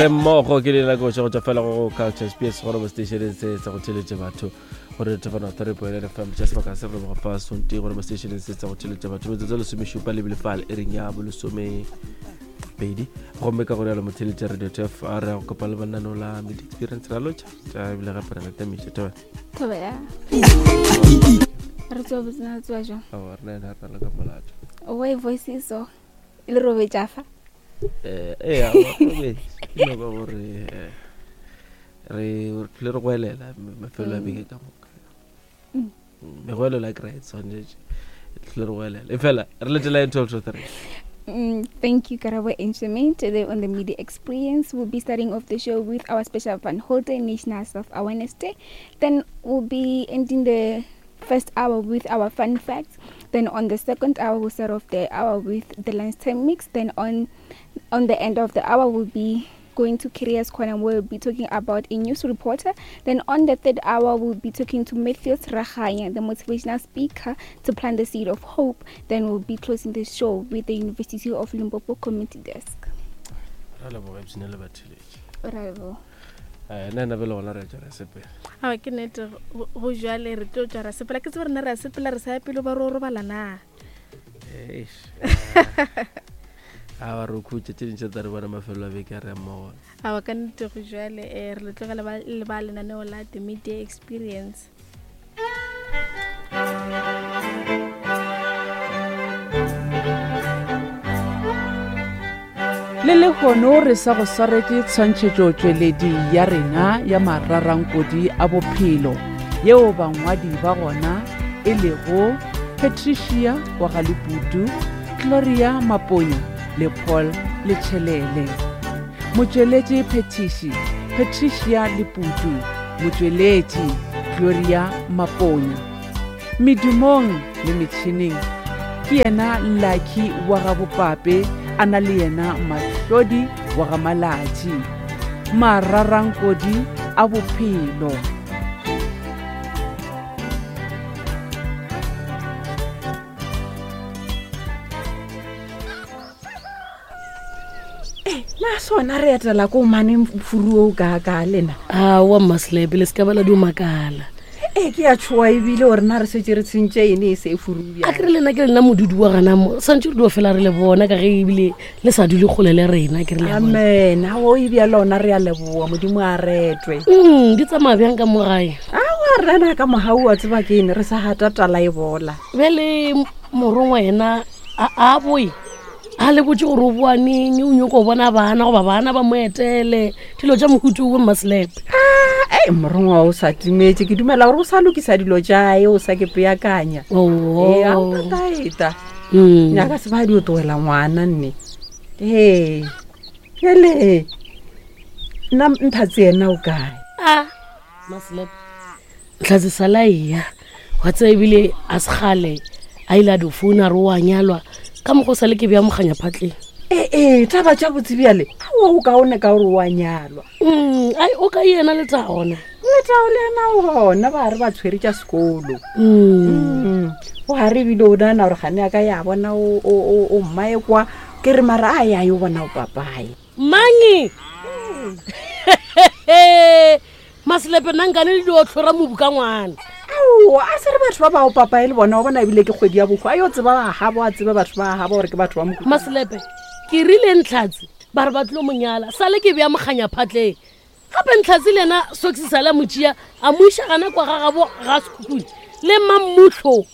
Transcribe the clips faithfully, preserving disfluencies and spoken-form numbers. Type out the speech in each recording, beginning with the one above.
Re mmogo ke le nako tša go tšwa fela go Culture Space gore mo station se sa go theletše batho gore thefana three point nine F M tša sebaka se re go fa sonti gore mo station se sa go theletše batho metsotso lesomešupa le bile fale e reng ya bolesome pedi gomme ka gore ya le motheletše Radio T F a re go kopa le banano la Media Experience ra lotšha tša ebile gape re latamiša thobela. Thobela. Re tswa botsena tswa jang? Aowa, rena ena re na le ka molato. Why voice is so le robetša fa? Eh, ee, aowa, robetše. Ke no ba gore eh, re re re goelela mafelo a beke ka moka. Mm. Megoelelo a kry e tshwanetše tlhole re goelela e fela re letela eng twelve to three. Mm, thank you, Karabo and Shemaine. Today on the Media Experience, we'll be starting off the show with our special Van Holten National Self-Awareness Day. Then we'll be ending the first hour with our fun facts. Then on the second hour, we'll start off the hour with the lunchtime mix. Then on, on the end of the hour, we'll be going to Careers Corner. We'll be talking about a news reporter. Then on the third hour, we'll be talking to Matthews Rahanya, the motivational speaker, to plant the seed of hope. Then we'll be closing the show with the University of Limpopo Community Desk. Ra leboga ebsene le batheletše. Ra leboga. Eh, nna ena bele gona re tšwa ra sepela. Aowa, ke nnete, go go jwale re tlo tšwa ra sepela. Ke tsebe rena re a sepela re sa ya pele ba re o robala na. Eish. A ba re khutše tše dintši tsa re bona mafelo a beke a re ya mmogo. Aowa, ka nnete go jwale eh, re le tlogela ba le ba lenaneo la The Media Experience. Le lehono re sa go swaretše tshwantšhetšotšweledi ya rena ya mararankodi a bophelo yeo bangwadi ba gona e lego Patricia wa ga Leputu, Gloria Maponya le Paul Letšhelele. Motšweletši phethiši Patricia Leputu, motšweletši Gloria Maponya. Medumong le metšhineng ke yena Lucky wa ga Bopape a na le yena Mahlodi wa ga Malatši. Mararankodi a bophelo. Eh, na sona re etela ko mane furuo ka ka lena. Aowa mmaselepe, le se ka ba la dio makala. Ee, ke a tshoa ebile gore na re setse re tshentše ene e se e furu A ke re lena ke lena modudi wa gana mo santse re dio fela re le bona ka ge ebile le sa dule kgole le rena ke re le a bona. Amen. Ao ebja lona re a leboa, modimo a retwe. Mm, di tsamaya bjang ka mo gae? Aowa rena ka mogau wa tseba ke ene re sa gata tala e bola. Bjale morongwa yena a a boe a le botse gore o boa neng, o nyako bona bana goba bana ba mo etele dilo tša mohutu o mmaselepe. Ee, morongwa o sa timetše, ke dumela gore o sa lokisa dilo tšae, o sa ke peakanya. Oo. Ee, a o tataeta. Mm. Nyaka se ba di o tlohela ngwana nne. Ee, bjale nna Nthatse yena o kae? A Mmaselepe, Ntlhatse sala eya wa tseba ebile a se kgale a ile a di founa a re o a nyalwa ka mokgwa o sa le ke bja moganya phatleng. Ee, ee, taba tša botse bjale aowa o kaone ka gore o a nyalwa. Mm, ai o ka yena Letago na? Letago le yena o gona, ba re ba tshwere tša sekolo. Mm. Mm. O gare ebile o nagana gore gane ya ka ya bona o, o, o, o mmae kwa, ke re mara a ya yo bona o papae. Mangi? Maselepe nna nkane le dio tlhora mobu ka ngwana. Aowa, a se re batho ba bao papae le bona, wa bona ebile ke kgwedi ya bohwa, a yo tseba ba gabo, a tsebe batho ba gabo gore ke batho ba mohuta. Maselepe, ke rile Ntlhatse ba re ba tlilo mo nyala, sale ke bja moganya phatleng. Gape Ntlhatse le yena Sox sale a mo tšea, a mo iša gana kwa ga gabo ga Sekhukhune le Mammuhlo.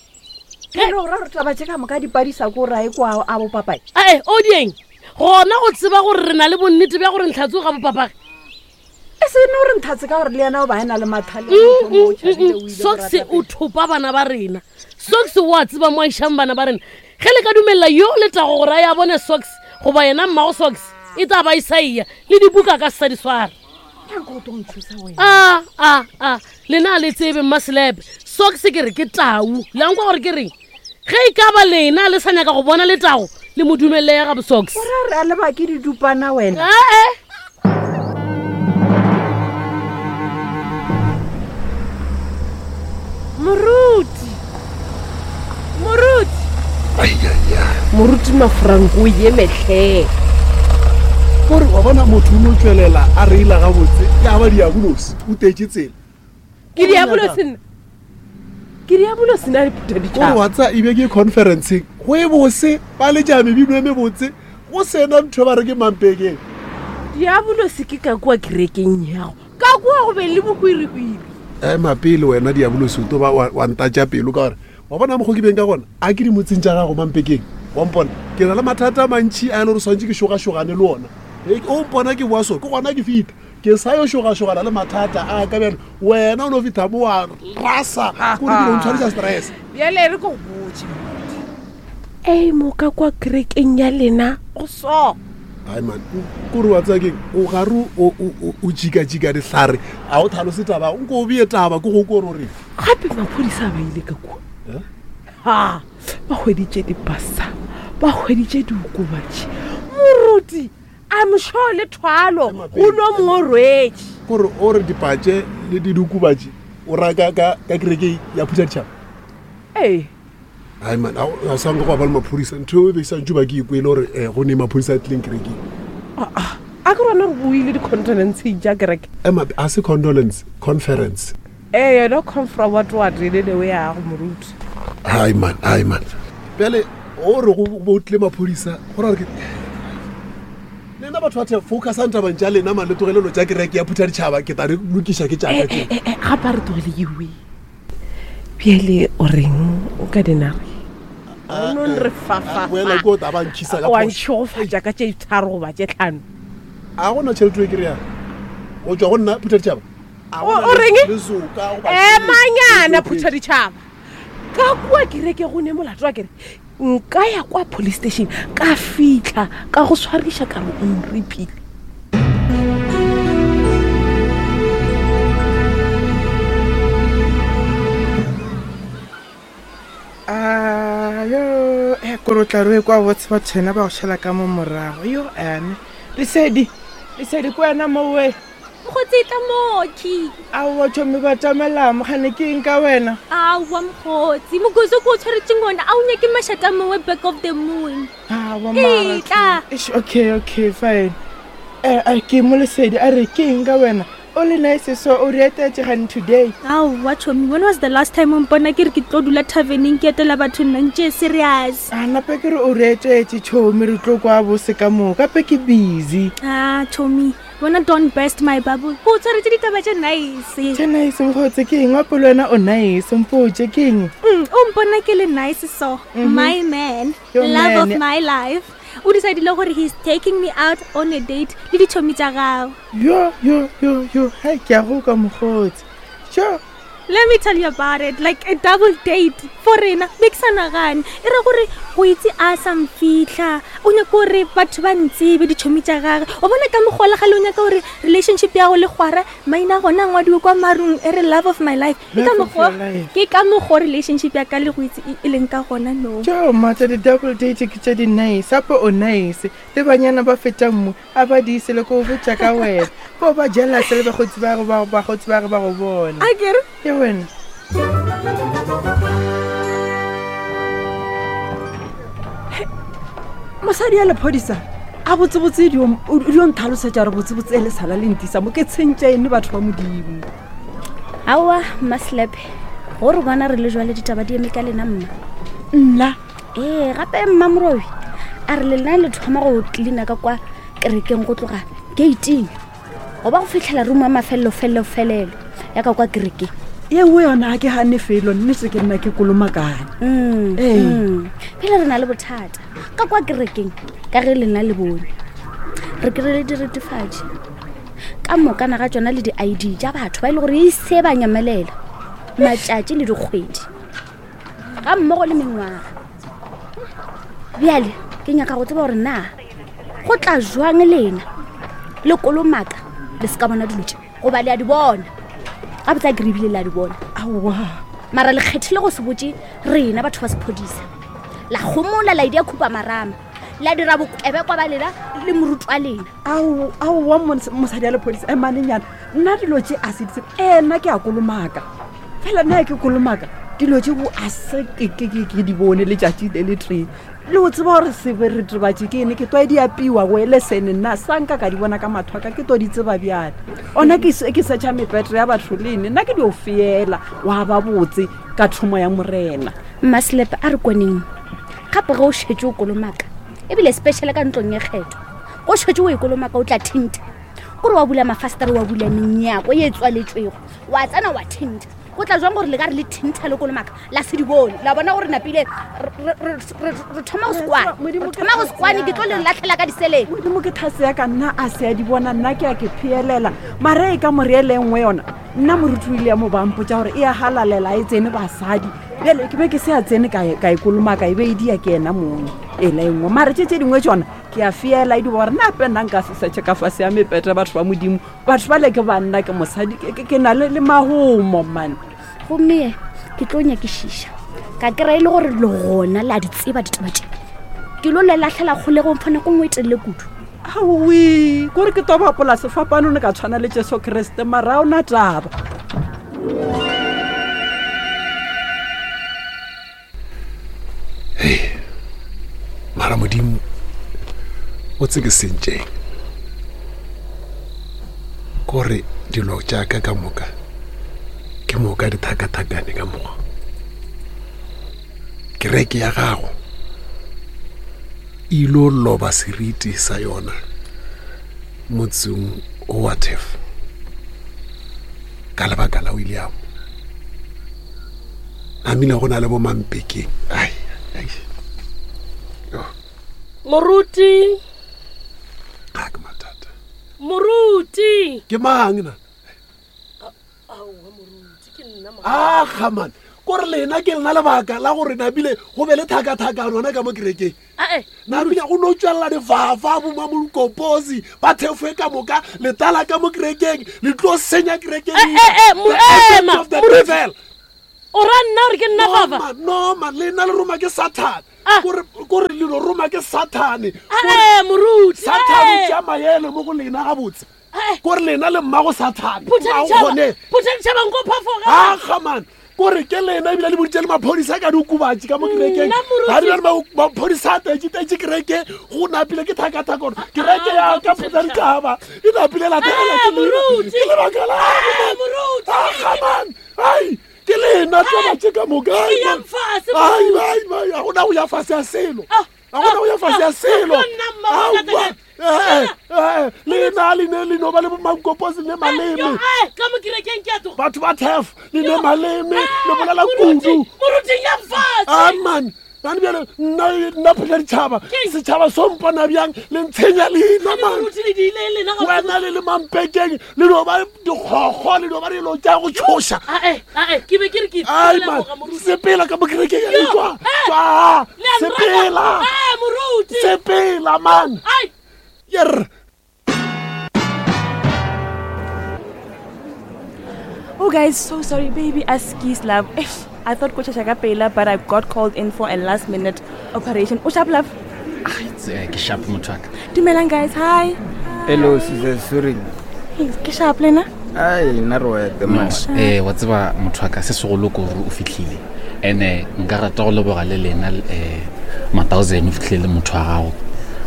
Ke no ra re taba tše ka moka di padisa ko rae kwa a bo papae. Ae, o dieng? Gona go tseba gore re na le bonnete bja gore Ntlhatse o ga bo papage. E se no re Ntlhatse ka gore le yena o ba ena le mathale a Mm, motho mm, o tšhabile, mm, o ile go Sox rata o pele. thopa bana ba rena. Sox o a tseba mo a išang bana ba rena. Ge le ka dumella yo Letago gore a ya bone Sox goba yena mmago Sox e tla ba e sa eya le dibuka ka se sa di swara. Nyanko o tlo nthusa wena. A, a, a, lena a le tsebe Mmaselepe. Sox ke re ke tau. Le a nkwa gore ke reng? Ge e ka ba lena le sa nyaka go bona Letago, le mo dumelle ya gabo Sox. O ra re a leba ke didupana wena. Ae. Moruti. Moruti. Ai, ai, ai. Moruti Mafranko o ye mehleng. Kore wa bona motho o no tswelela a reila gabotse ya ba diabolosi o tetse tsela. Ke diabolosi nna. Ke diabolosi nna le phutha Kore ditšhaba. wa tsa ebe ke conferenceng go e bose ba letša mebino e mebotse go sena ntho e ba re ke mampekeng. Diabolosi ke ka kua kerekeng yago. Ka kua go be le bohwirihwiri. Ema pele wena diabolosi o tlo ba wa wa ntatša pelo ka gore wa bona mokgo ke beng ka gona a ke di motseng tša gago mampekeng wa mpona ke na le mathata a mantšhi a e le gore swantše ke šogašogane le ona. E, o mpona ke boa so ke gona ke fita ke sa yo šogašogana le mathata a ka bjale wena o no fitha mo wa rasa kore ke no ntshwarisa stress. Bjale re ko go botše. Ei mo ka kwa kerekeng ya lena go so. Ai man, kore wa tseba keng o gare o o o jikajika dihlare a o tlhalose taba nko o beye taba ke go kore o reng. Gape maphodisa ba ile ka kua. Eh? Ha, ba hweditše dipasa, ba hweditše diokobatši. Moruti I'm sure le thwalo go no mongwe o rwetše. Kore o re dipatše le di diokobatši o ra ka ka ka kerekeng ya phutha ditšhaba. Ee. Ai man, a a sa nka go ba le maphodisa ntho e be sa ntse ba ke ikwele gore eh, go ne maphodisa a tlileng kerekeng. Ah, a ke rona re buile di-condolenceng tša kereke. Ema a se condolence conference. Ee, yona confra what what le lewe yago moruti. Ai man, ai man. Bjale o re go bo tlile maphodisa go ra gore ke lena batho ba the focusang tabeng tša lena man le tlogelelo tša kereke ya phutha ditšhaba ke tla re lokiša ke tšaka tše. Eh, eh, gape a re tlogele ewe. Bjale o reng o ka dinare? Nong re fafa. Boela ke o tla ba nkisa ka Wa phošo. ntšhegofatša ka tše tharo goba tše tlhano. A gona tšhelete e ke reyang go tšwa go nna phutha ditšhaba. A O gona o reng? le soka goba Emanyana tšhelete. phutha ditšhaba. Ka kua kereke go ne molato wa kere nka ya kwa police station ka fitlha ka go swariša ka re o nripile. Ah, yo, eh, kore o tla re o e kwa botse batho ena ba go šala ka mo morago. Yo, ane. Lesedi, Lesedi ke wena mowe. Mokgotsi tla mooki. Aowa tšhomi ba tamela mogane ke eng ka wena? Aowa mokgotsi, mokoso ko o tshwaretseng ona a o nyake mašata a mangwe back of the moon. Aowa mara. Etla. Eish, okay, okay, fine. Eh, eh, ke mo Lesedi a re ke eng ka wena? O le nice so o re etetse gane today. Aowa tšhomi, when was the last time o mpona ke re ke tlo dula taverneng ke etela batho nna ntše serious? A nape ke re o re etetse tšhomi re tlo kwa bose ka moka gape ke busy. Ah, tšhomi, wena don't burst my bubble. Ko o tshwaretse ditaba tše nice. Tše nice mokgotsi ke eng? Wape le wena o nice mpotše ke eng? Mm, o mpona ke le nice so. My man, Your love of man. my life. O decidile gore he's taking me out on a date le ditšhomi tša gago. Yo, yo, yo, yo, hai ke a go kwa mokgotsi. Sure. Let me tell you about it, like a double date for rena be ke sa nagane e re gore go itse a sa mfitlha o nyaka gore batho ba ntsebe ditšhomi tša gage o bona ka mokgola gale o nyaka gore relationship ya go le kgwara maina a gona a ngwadiwe kwa marung e re love of my life ke ka Love of mokgwa your life. ke ka mokgwa relationship ya ka le go itse e- e leng ka gona no Jo, mata di-double date ke tše di nice gape o nice le banyana ba fetang mo a ba di ise le ko botša ka wena ko ba jealous le bakgotsi ba go ba bakgotsi ba ge ba go bona a kere ke wena Mosadi ya lephodisa a botsebotse di o di o ntlhalosetša gore botsebotse e le sala le ntisa mo ke tshentše ene batho ba modimo. Aowa mmaslepe gore bona re le jwale ditaba di eme ka lena mma. Nna Ee, gape mmamorobi a re lena le thoma go cleana ka kwa kerekeng go tloga gating goba go fitlhela room ya mafelelo-felelo-felelo ya ka kwa kerekeng. Ye nngwe yona a ke gane felo nnete ke nna ke kolomakane. Mm, Ee. mm. Pele re na le bothata ka kwa kerekeng ka ge lena le bone re kry-ile diretefatši ka mokana ga tsona le di-I D tša batho ba e le gore ise ba nyamelela matšatši le dikgwedi ga mmogo le mengwaga. Bjale ke nyaka go tseba gore na go tla jwang lena le kolomaka le se ka bona dilo tše goba le a di bona gabotse a kere ebile le a di bona. Aowa. Mara le kgethile go se botse rena batho ba sephodisa la gomola la idia khupa marama la dira bokebekwa ba lena le moruti wa lena. Ao aowa mos- mosadi ya lephodisa emanenyana nna dilo tše a se di tsebe. Ee nna ke a kolomaka fela nna ke kolomaka Dilo tše bo a se ke ke ke ke di bone letšatši le le tee. Le o tseba gore seberetebatši ke ene ke twa di apiwa go ele sene nna sa nka ka di bona ka matho a ka ke to di tseba bjale. Ona ke se- ke searcha mepetre ya batho le ene nna ke di o feela wa ba botse ka thomo ya morena. Mmaselepe a re kwaneng gape ge o šetse o kolomaka ebile special ka ntlong e kgetho go šetse o e kolomaka o tla thintha kore wa bula mafastere wa bula menyako ye e tswaletswego wa tsena wa thintha go tla jwang gore le ka re le thintha le kolomaka la se di bone la bona gore napile re- re re- re thoma go sekwane Modimo re ke thoma go sekwane ke tlo le latlhela ka diseleng Modimo ke thase ya ka nna a se a di bona nna ke a ke pheelela mare e ka more ele nngwe yona nna moruti o ile ya mo bampotsa gore e a galalela e tsene basadi bjale ke be ke se a tsene ka e- ka e kolomaka e be e dia ke ena mongwe ela e nngwe mare tše tše dingwe tsona ke a feela e di gore nna ape nna nka se setšhe ka fase ya mepete batho ba modimo batho ba le ke banna ke mosadi ke- ke ke na le le magomo mane gomme ye ke tlo nyakišiša ka kry-a e le gore le gona le a di tseba ditaba tše ke lo le latlhela kgolegong fa nako nngwe e telele kudu aowi kore ke to bapola sefapano ne ka tshwana le jesu kriste mara a ona taba mara modimo o tse ke sentšeng kore dilo tša ka ka moka ke moka di thakathakane ka mokgwa kereke ya gago e ilo loba seriti sa yona motseng o wa tef ka lebaka la william namile go na le bomampekeng ai ai Moruti, a ke mathata moruti. ke mang na Aowa moruti, ke nna mo. aga man kore lena ke lena lebaka la gore nabile go be le thakathakano gona ka mo kerekeng Ae, nabile go no tswelela difafa bomamokoposi ba thefoe ka moka letala ka mo kerekeng le tlo senya kerekeng Eh, eh, eh, mo- The agent ema, of the moruti. devil. o ra nna gore ke nna No, fafa? man, no man lena le roma ke sathane Ah. kore kore le no roma ke sathane Ae, moruti. sathane o ae. tšea maele mo go lena gabotse Ae. kore lena le mmago sathane Phutha Ga o ditšhaba, kgone. phutha ditšhaba nko phafoga. aga man kore ke lena ebile le boditse le maphodisa ka diokobatši ka mo kerekeng Nna, moruti. ga di bjale ma- maphodisa a tetse-tetse kereke go napile ke thakathaka gore kereke ya ka phutha ditšhaba e napile lategela Eh, ke lena. moruti. ke lebaka la Eh, moruti. aga man ai ke lena taba tše ka moka ai, Ke man. yang fase, Ai, moruti. ai, ai, ga gona go ya fase ya selo Ah, ga gona go ya fase ya ah, selo yo nna mma wa Aowa. katakata. Eh, eh, lena le ne le no ba le bomankoposi le Yo, maleme ae, ka mo kerekeng ke a tloga. batho ba tef le ne maleme le bolela Moruti, kudu moruti, yang fase. aman ane bjale nna nna phela ditšhaba setšhaba so mpona bjang le ntshenya leina man Moruti le diile lena ga wena le le mampekeng le no ba dikgokgo le no ba dilo tša go tšhoša Ae, ae, ke be ke re ke ai ipela man boga, moruti. sepela ka mo kerekeng ya tswa eh, tswa Le a nraka. sepela Ae, moruti. sepela man Ai, yer Oh, guys, so sorry, baby. Askies, love. Eish, I thought Coach Shaka Pela, but I got called in for a last minute operation. Oh, sharp, love. Eh, ke sharp motho wa ka Dumelang, guys. Hi. Hello, Sister Surin. Hey, ke sharp, lena. Ai, nna re wete No, man. eh wa tseba motho wa ka se segolo ke gore o fitlhile and-e nka rata go leboga le lena um mathousand o fitlhile le motho wa gago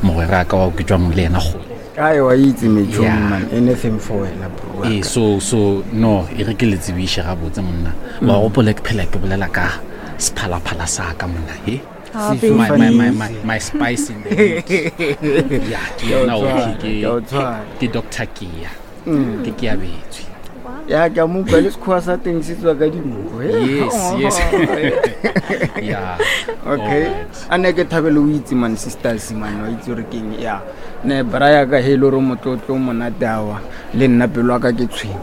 mogwera ka wa ke tswang le ena gole Ai, wa itse metšhomi Yeah. man. Anything for wena bro. wa ee ka. so so no e re ke le tsebiše gabotse monna wa gopola ke phela ke bolela ka sephalaphala sa ka monna e Ah, Siso my, my, my, my, Fanisi. my spice in the meat. ya ke Ke a o yena o tshwara, ke ke a o tshwara. ke doctor kea ke ke abetswe Ya ke a mo utlwa le sekgowa sa teng se tswa ka dinko. eh. yes yes yeah Okay. Alright. A ne ke thabele o itse man sisters man wa itse gore keng ya. Ne bra ya ka he le gore motlotlo o monate awa le nna pelo ya ka ke tshweu.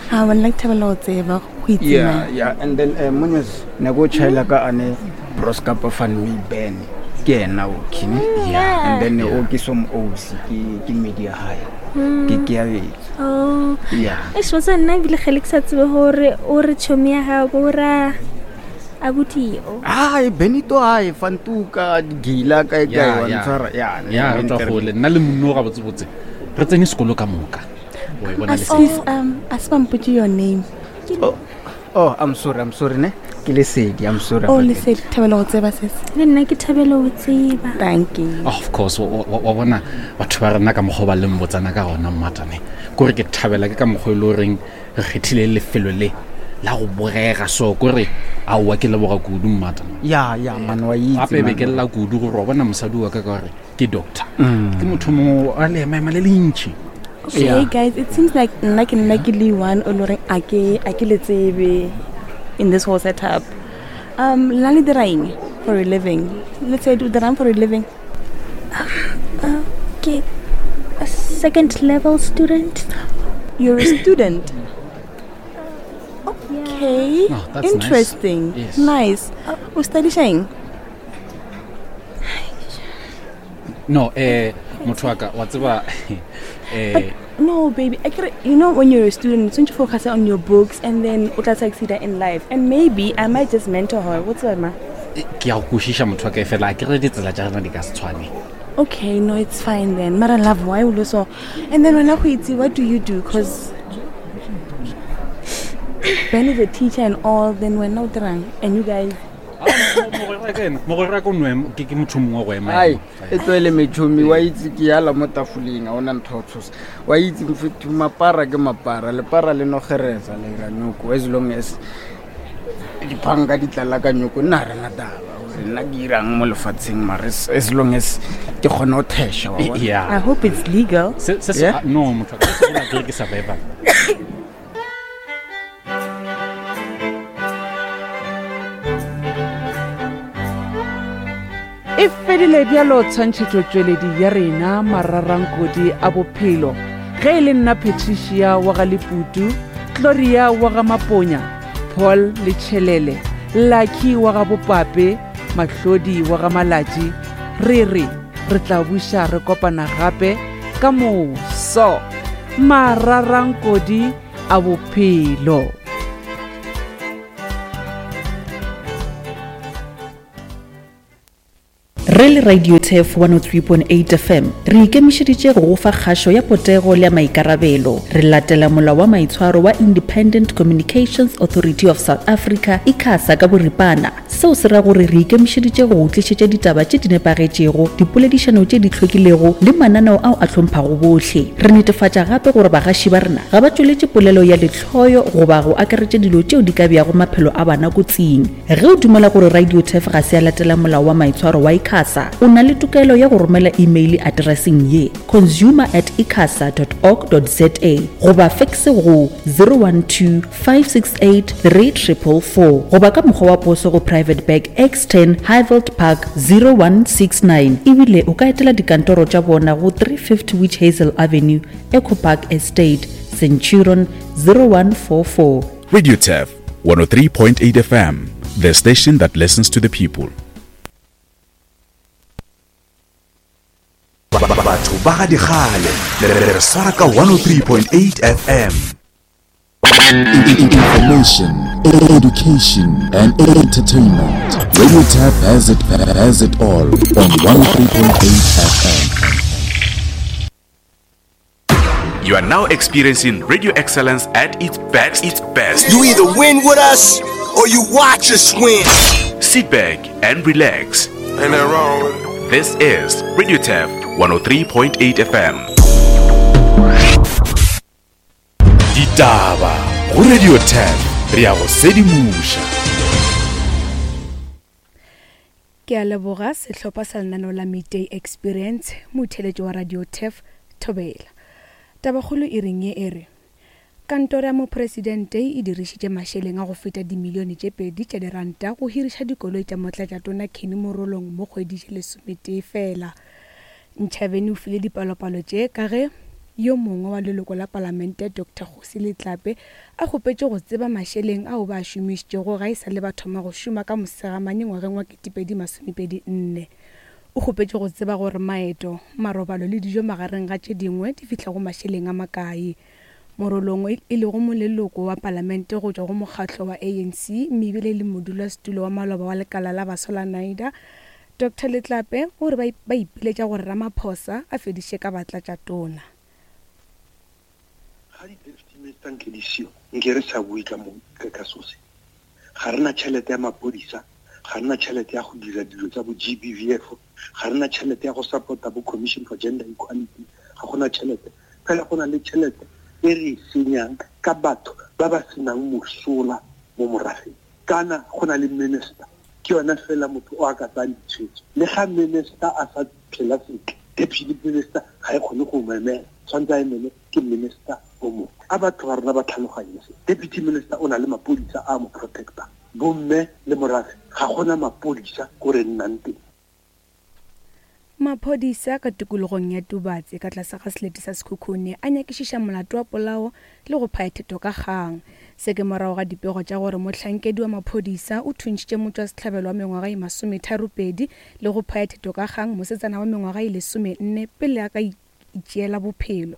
Ah, well, like thabela ho tseba ho itse Yeah, man. yeah. And then uh, Munyas, ne go chaila ka ane broskapa fan me ben. Ke ena o kini. Yeah. And then o ke som osi ke ke media high. Ke ke ya betso. Oh. Yeah. Eish, wa tseba nna ebile kgale ke sa tsebe gore o re tšhomi ya gago ko ra abuti o. Ai Benito ai fantuka gila kae kae Ya, wa ya. ntshwara. Ya. ya re tswa gole nna le monno ga botsebotse re tsene sekolo ka moka wa e bona le Askies, um, a se ba mpotse your name. Oh, oh, I'm sorry, I'm sorry ne. Ke Lesedi, I'm sorry. Oh, about that. Lesedi, thabela go tseba sese. Le nna ke thabela go tseba. Thank you. Oh, of course wa- wa wa bona batho ba rena ka mokgwa o ba leng botsana ka gona mmatane kore ke thabela ke ka mokgwa e le goreng re kgethile lefelo le la go bogega so kore aowa ke leboga kudu mmatane Ya, ya, man wa itse. gape be man. ke lla kudu gore wa bona mosadi wa ka ka gore ke doctor Mm. ke motho mongwe a leemaema le le ntšhi Okay, Yeah. guys, it seems like nna ke nna ke le one o le goreng a ke a ke le tsebe in this whole setup. Um, lena le dira eng for a living? Let's say o dirang for a living. Uh, ke a second level student. You're a student. Okay. Oh, that's nice. Interesting. Yes. Nice. O studiša eng? No, eh motho wa ka wa tseba eh But no, baby, I kere, you know when you're a student, don't you focus on your books and then o tla succeed in life. And maybe I might just mentor her. What's up, ma? ke ya go kwešiša motho wa ka e fela a ke re ditsela tša rena di ka se tshwane. Okay, no, it's fine then. Mara love, why will so? And then when I what do you do? Because Ben is a teacher and all, then we're not drunk. And you guys, Mogwera ka o no ema- ke ke motho o mongwe wa go ema Ai, ema. e tloele metšhomi wa itse ke yala mo tafoleng a ona ntho ya go tshosa. Wa itse mfethu mapara ke mapara, lepara le no kgeresa le ira nyoko as long as diphanka di tlala ka nyoko nna ga rena taba gore nna ke irang mo lefatsheng mare as- as long as ke kgona go thesha wa bona. Yeah. I hope it's legal. Se se se Yeah? ah, no motho wa ka se se gola ke survivor. E fedile bjalo tshwantšhetšotšweledi ya rena mararankodi a bophelo ge e le nna Patricia wa ga Leputu, Gloria wa ga Maponya, Paul Letšhelele, Lucky wa ga Bopape, Mahlodi wa ga Malatši, re re re tla buša re kopana gape ka moso. Mararankodi a bophelo. Re le Radio Turf one oh three point eight F M re ikemišeditše go go fa kgašo ya potego le ya maikarabelo. Re latela molao wa maitshwaro wa Independent Communications Authority of South Africa ICASA ka boripana. Seo se ra gore re ikemišeditše go go tlišetša ditaba tše di nepagetšego, dipoledišano tše di hlwekilego le mananeo ao a hlomphwago bohle. Re netefatša gape gore bagaši ba rena ga ba tšweletše polelo ya lehloyo goba go akaretša dilo tšeo di ka beago maphelo a bana kotsing. Ge o dumela gore Radio Turf ga se ya latela molao wa maitshwaro wa ICASA, o na le tokelo ya go romela email addresseng ye consumer at icasa dot org dot za goba fax go zero one two five six eight three triple four goba ka mokgwa wa poso go Private Bag X ten Highveld Park zero one six nine. Ebile o ka etela dikantoro tša bona go three fifty Witch Hazel Avenue, Eco Park Estate, Centurion zero one four four. Radio Turf one oh three point eight F M, the station that listens to the people. Batho ba ga dikgale le re swara ka one oh three point eight F M. Information, education and entertainment. Radio Turf has it, has it all on one oh three point eight F M. You are now experiencing radio excellence at its best. Its best. You either win with us or you watch us win. Sit back and relax. Ain't nothing wrong with it. This is Radio Turf one oh three point eight F M. Ditaba go Radio Turf re ya go sedimoša. Ke a leboga sehlopha sa lenaneo la Midday Experience, motheletši wa Radio Turf Thobela. Tabakgolo e reng ye e re kantoro ya mopresidente e dirišitše mašeleng a go feta dimilione tše pedi tša diranta go hiriša dikoloi tša motlatšatona Kenny Morolong mo kgwedi tše lesometee fela. Ntšhabeni o file dipalopalo tše ka ge yo mongwe wa leloko la palamente Doctor Kgosi Letlape a kgopetše go tseba mašeleng ao ba a šomišitšego ga e sa le ba thoma go šoma ka Mosegamanye ngwageng wa ketepedi masomepedi nne. O kgopetše go tseba gore maeto, marobalo le dijo magareng ga tše dingwe di fihla go mašeleng a makae. Morolong e lego moleloko wa palamente go tšwa go mokgatlo wa A N C mme ebile le modulasetulo wa maloba wa lekala la baswa la NIDA, Doctor Letlape o re ba ipiletša gore Ramaphosa a fediše ka batlatšatona. Ga di-deputy minister nke di seo, nke re sa bue ka mo, ka, ka so se. Ga rena tšhelete ya maphodisa, ga rena tšhelete ya go dira dilo tsa bo G B V F, ga rena tšhelete ya go support-a bo Commission for Gender Equality, ga gona tšhelete. Fela go na le tšhelete e re e senyang ka batho ba ba senang mosola mo morafeng. Kana go na le minister, ke yona fela motho o a ka tsayang ditshwetso. Le ga minister a sa phela sentle, deputy minister ga e kgone go mo emela, tshwanetse a emele ke minister o mongwe. A batho ba rona ba tlhaloganye se. Deputy minister o na le maphodisa a mo protector. Bomme le morafe ga gona maphodisa ko re nnang teng. Maphodisa ka tikologong ya Tubatse ka tlase ga selete sa Sekhukhune a nyakišiša molato wa polao le go phaya theto ka kgang. Se ke morago ga dipego tša gore mohlankedi wa maphodisa o thuntšhitše motšwasehlabelo wa mengwaga e masometharopedi le go phaya theto ka kgang mosetsana wa mengwaga e lesomenne pele a ka itšeela bophelo.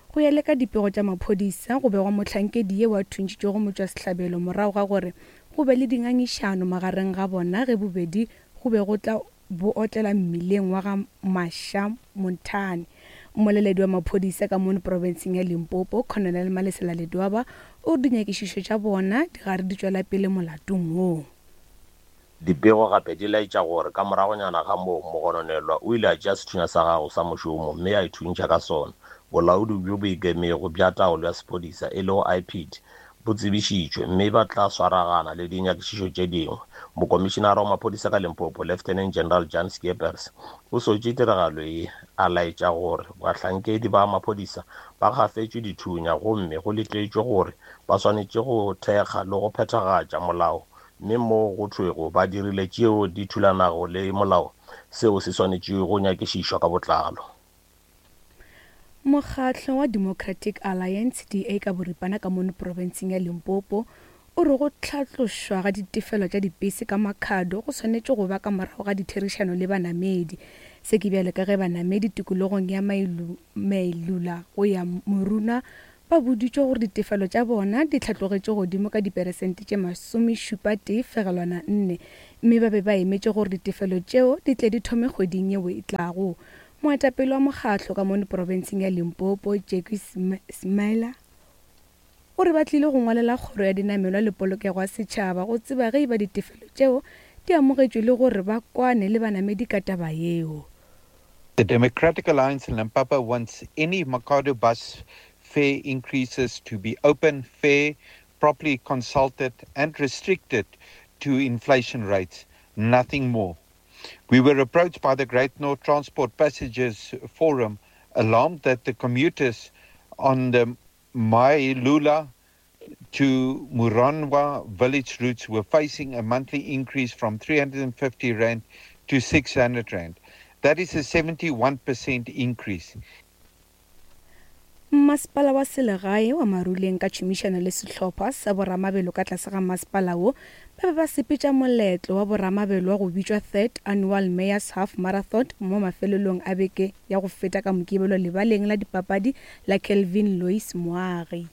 Go ya le ka dipego tša maphodisa go begwa mohlankedi yeo a thuntšhitšego motšwasehlabelo morago ga gore go be le dingangišano magareng ga bona ge bobedi go be go tla bo otlela mmileng wa ga Masha Montane. Mmoleledi wa maphodisa ka mono profenseng ya Limpopo, Colonel Malesela Ledwaba, o re dinyakišišo tša bona di gare di tšwela pele molatong woo. Dipego gape di laetša gore ka moragonyana ga moo mogononelwa o ile a tšea sethunya sa gagwe sa mošomo mme a ithuntšha ka sona. Bolaodi bjo bo ikemego bja taolo ya sephodisa e lego I P D bo tsebišitšwe mme ba tla swaragana le dinyakišišo tše dingwe. Mokomišenara wa maphodisa ka Limpopo, Lieutenant General Jan Skeepers, o sotše tiragalo ye a laetša gore bahlankedi ba maphodisa ba gafetšwe dithunya gomme go letetšwe gore ba swanetše go thekga le go phethagatša molao, mme mo go thwego ba dirile tšeo di thulanago le molao, seo se swanetše go nyakišišwa ka botlalo. Mokgatlo wa Democratic Alliance D A ka boripana ka mono profenseng ya Limpopo o re go hlatlošwa ga ditefelo tša dipese ka makhado go swanetše go ba ka morago ga ditherišano le banamedi. Se ke bjale ka ge banamedi tikologong ya Mailula go ya Moruna ba boditšwe gore ditefelo tša bona di hlatlogetše godimo ka diperesente tše masomešupa tee fegelwana nne, mme ba be ba emetše gore ditefelo tšeo di tle di thome kgweding yeo e tlago. Moetapele wa mokgatlo ka mono profenseng ya Limpopo, Jackie Smaila, o re ba tlile go ngwalela kgoro ya dinamelwa le polokego ya setšhaba go tseba ge e ba ditefelo tšeo di amogetšwe le gore ba kwane le banamedi ka taba yeo. The Democratic Alliance in Limpopo wants any Makhado bus fare increases to be open, fair, properly consulted and restricted to inflation rates, nothing more. We were approached by the Great North Transport Passengers Forum, alarmed that the commuters on the Mailula to Muranwa village routes were facing a monthly increase from three hundred fifty rand to six hundred rand. That is a seventy-one percent increase. Masepala wa selegae wa Maruleng ka tšhomišano le sehlopha sa boramabelo ka tlase ga masepala wo ba be ba sepetša moletlo wa boramabelo wa go bitšwa Third Annual Mayor's Half Marathon mo mafelelong a beke ya go feta ka Mokibelo lebaleng la dipapadi la Kelvin Lois Moagi.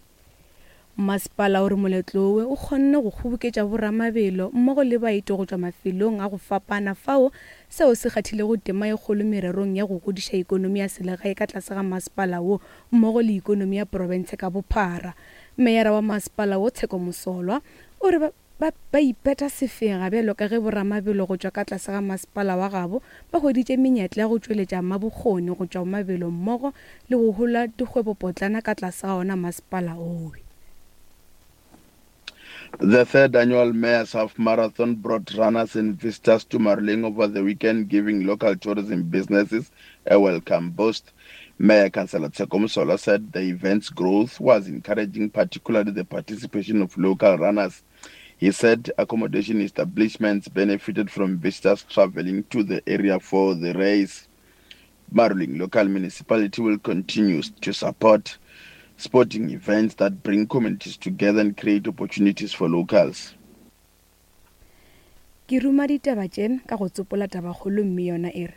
Masepala o re moletlo wo o kgonne go kgoboketša boramabelo mmogo le baeti go tšwa mafelong a go fapana fao seo se kgathilego tema e kgolo mererong ya go godiša ikonomi ya selegae ka tlase ga masepala wo mmogo le ikonomi ya profense ka bophara. Meyara wa masepala wo Tsheko Mosolwa o re ba ba ipeta sefega bjalo ka ge boramabelo go tšwa ka tlase ga masepala wa gabo ba hweditše menyetla ya go tšweletša mabokgoni go tšwa mabelo mmogo le go hola dikgwebopotlana ka tlase ga ona masepala owe. The third annual Mayor's Half Marathon brought runners and visitors to Maruleng over the weekend, giving local tourism businesses a welcome boost. Mayor Councillor Tsheko Mosolwa said the event's growth was encouraging, particularly the participation of local runners. He said accommodation establishments benefited from visitors traveling to the area for the race. Maruleng local municipality will continue to support sporting events that bring communities together and create opportunities for locals. Ke ruma ditaba tše ka go tsopola tabakgolo mme yona e re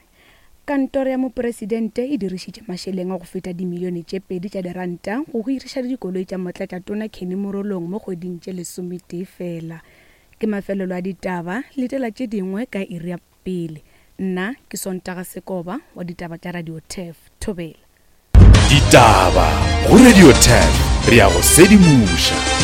kantoro ya mopresidente e dirišitše mašeleng a go feta dimilione tše pedi tša diranta go hiriša dikoloi tša motlatšatona Kenny Morolong mo kgweding tše lesometee fela. Ke mafelelo a ditaba, letela tše dingwe ka iri ya pele. Nna ke Sontaga Sekoba wa ditaba tša Radio Turf. Thobela. Ditaba go Radio Turf, re ya go sedimoša.